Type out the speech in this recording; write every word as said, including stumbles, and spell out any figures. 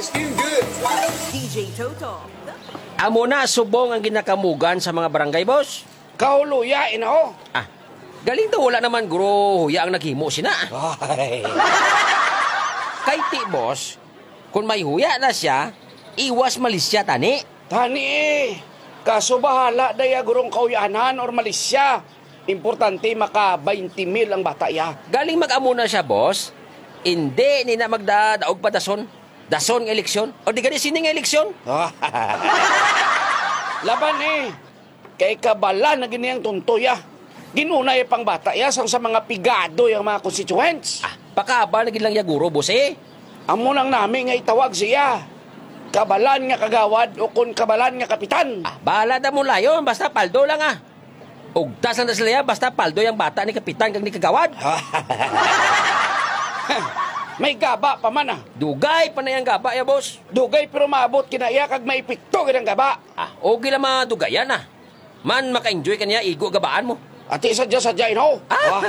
D J Toto. Amo na subong ang ginakamugan sa mga barangay, boss. Kauluya, ino? Ah, galing daw wala naman guro huya ang naghimo sina. Ay. Kay ti, boss, kung may huya na siya, iwas malisya tani. Tani eh. Kaso bahala daya gurong kauyanan or malisya. Importante maka twenty mil ang bata ya. Galing mag-amo na siya, boss. Hindi ni na magdadaog pa dason. Dason nga eleksyon. O di gani sining eleksyon. Laban eh. Kay kabalan na gini ang tuntoy ah. Ginunay pang bata ya sang sa mga pigado yang mga constituents. Ah, pakabal na gid lang ya guro, boss eh. Amo nang nami nga itawag siya. Kabalan nga kagawad o kon kabalan nga kapitan. Ah, bahala ta mo layon, basta paldo lang ah. Ugtas lang na sila ya, basta paldo yang bata ni kapitan kag ni kagawad. May gaba pa man ah. Dugay pa na yang gaba ya, boss. Dugay pero maabot kinaya kag maepekto gid ang gaba. Ah, okay lang mga dugayan ah. Man, maka-enjoy ka niya, igo gabaan mo. Ati sadya-sadya, ino? Ah!